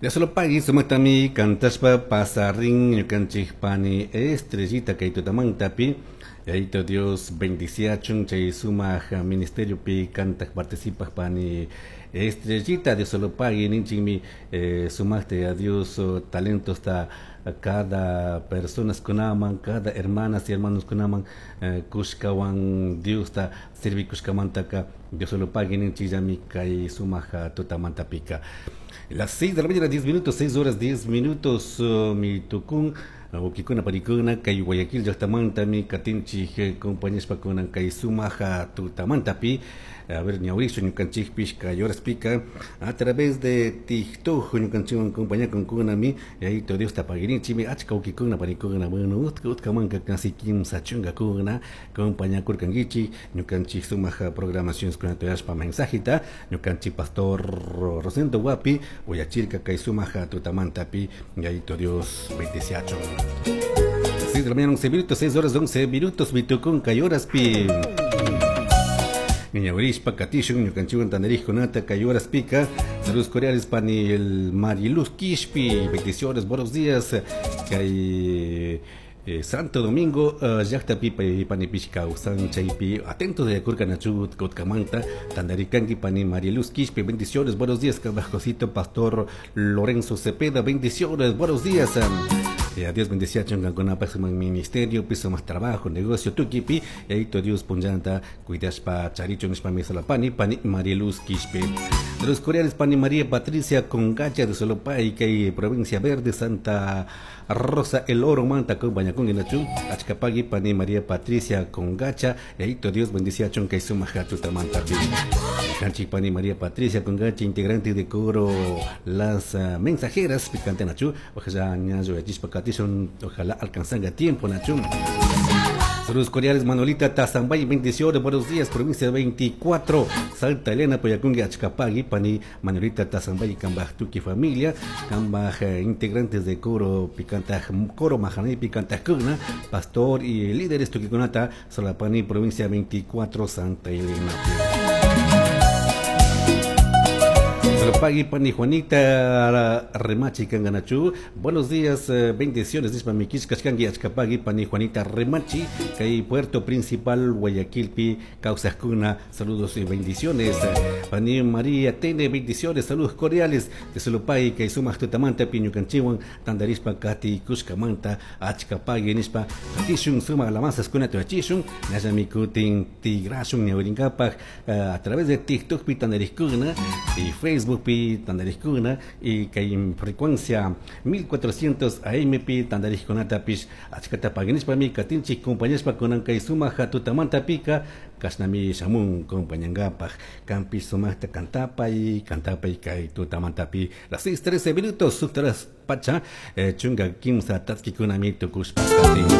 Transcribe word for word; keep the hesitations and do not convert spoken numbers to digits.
Dios sumaktami kantashpa pasarin ñukanchik pani Estrellita kay tutamantapi. Yayito Dios bendiciachun chay sumak ministerio pi kantak participaj pani Estrellita. Dios lo pague ninchikmi eh, sumakta a Dios talentos ta cada personas kunaman, cada hermanas y hermanos kunaman eh, kushkawan Dios ta sirvi kushkamantaka Dios lo pague ninchikllami kay sumak tutamantapika. Las seis de la mañana, diez minutos, seis horas diez minutos, uh, mi tukun, wawkikuna panikuna, kay Guayaquil llaqtamantami katinchik compañashpakuna kay sumaja tutamantapi. A ver, ñawrichu ñukanchikpish kay horaspika a través de TikTok ñukanchikwan compañakunkuna yayito Dios ta pagirinchimi achka wawkikuna panikuna, bueno, utka utkamanka casi kimsa chunkakuna compañakurkankichik ñukanchik sumaja programaciones kunata uyashpa mensajita ñukanchik pastor Rosendo Wapi uyachirka kay sumaja tutamantapi. Yayito Dios bendeciachun. seis de la mañana, once minutos, seis horas once minutos, mitukun kay horaspi. Ñawrishpa katishun ñukanchikwan tandarijkunata kay horaspika. Saludos cordiales pani el Mariluz Quishpi, bendiciones, buenos días. Kay eh, Santo Domingo uh, llaqtapi panipish kawsan chaypi atentos de kurkanachu kutkamanta tandarikanki pani Mariluz Quishpi, bendiciones, buenos días. Kabajcosito Pastor Lorenzo Cepeda, bendiciones, buenos días. Eh, a Dios bendecía chunkankunapaq sumaq ministerio, piso más trabajo, negocio, tukipi, yayito Dios punllanta cuidashpa charichun nishpami solapani, pani Mariluz Quishpi. De los coreanos, pani María Patricia Congacha de Solopay, kay provincia Verde, Santa Rosa El Oro, manta compañakun inachu, achkapagui pani María Patricia Congacha, yayito Dios bendecía kay sumaq tutamantapi. Canchi pani María Patricia Congacha, integrante de coro Las uh, Mensajeras, picante nachu, ojalá ñayo yachispa katishun, ojalá alcanzanga tiempo nachu. Saludos cordiales Manolita Tazambay, bendiciones, buenos días, provincia veinticuatro, Santa Elena, Poyacungue, Achcapagui, pani Manolita Tazambay, Cambaj Tuki familia, Cambaj eh, integrantes de coro Picanta, coro Majanay Picanta Cuna, pastor y líderes Tuquiconata, Solapani, provincia veinticuatro, Santa Elena. Pagui pani Juanita Remachi Kanganachu. Buenos días, eh, bendiciones. Nispa mikish kashkangi achkapagui pani Juanita Remachi, kay Puerto Principal Guayaquilpi Causascuna. Saludos y bendiciones. Pani María Tene, bendiciones, saludos cordiales de Solopay, kay sumaq tutamanta piñukanchiwan tandarispa kati kushkamanta achkapagui nispa katishun sumaq alabanzas kuna tuachishun nallami kutin tigrashun ñawrinkapaj a través de TikTok pi tandariskuna y Facebook pi tandarijkuna y kay frecuencia mil cuatrocientos A M pi tandarijkunata pish achkata paginishpami katinchik compañashpa kunan kay sumaq tutamanta pika kashnami shamun compañangapaj kampi sumaqta kantapay kantapay kay tutamantapi las seis trece minutos subtaras pacha eh, chunga kimsa tatkikunami tukushpa katin.